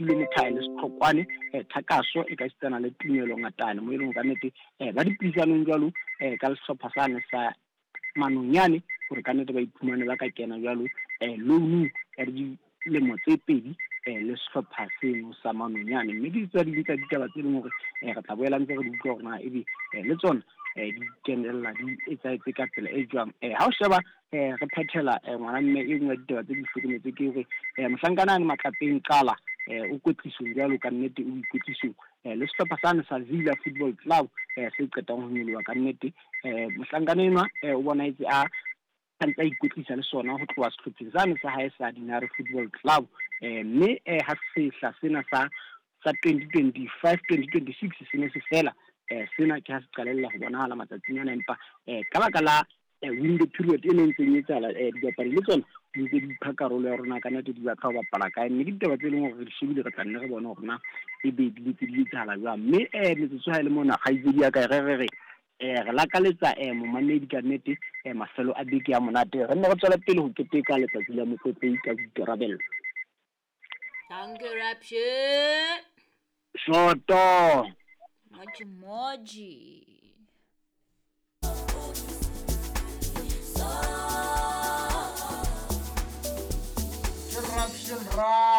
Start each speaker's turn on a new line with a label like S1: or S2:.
S1: Refilwe Mothae le Setlhokwane Thakaso e ka esitana le Tumelo Ngatane, mo e leng ka nnete ba dipuisanong jwalo ka sehlopha sane sa Manonyane hore ka nnete ba iphumane ba ka kena jwalo loanung ya dilemo tse 2 le sehlopha seno sa Manonyane. Mme ke tsa ding tsa ditaba tse leng hore re tla boela ntse re di utlwa hore na ebe le tsona di kenella di etsahetse ka tsela e jwang. Ha o sheba re phethela ngwana mme e nngwe ya ditaba tse di hlokometse ke hore mohlankana ane Matlapeng Qala o kwetlisong jwalo ka nnete, o ikwetlisong le sehlopha sane sa Villa Football Club se qetang ho nyoloha ka nnete. Mohlankana enwa o bonahetse a ntse a ikwetlisa le sona ho tloha sehlopheng sane sa hae sa Dinare Football Club, mme ha sehla sena sa 2025-2026 se ne se fela, sena ke ha se qalella ho bonahala matsatsing ana, empa ka baka la window period e ne ntseng e etsahala, dibapadi le tsona di ntse di ipha karolo ya rona ka nnete di batla ho bapala kae, mme ke ditaba tse leng hore re di shebile, re tla nne re bone hore na ebe di ntse di etsahala jwang. Mme metsotso ha e le mona, kgaitsedi ya ka, re re re re lakaletsa momamedi ka nnete mafelo a beke ya monate, re nne re tswele pele ho keteka letsatsi la motlotlehi ka boikarabello.
S2: Dankie, Rapshe.
S1: Shoto.
S2: Moji moji.
S3: Ke Rapshe Ra.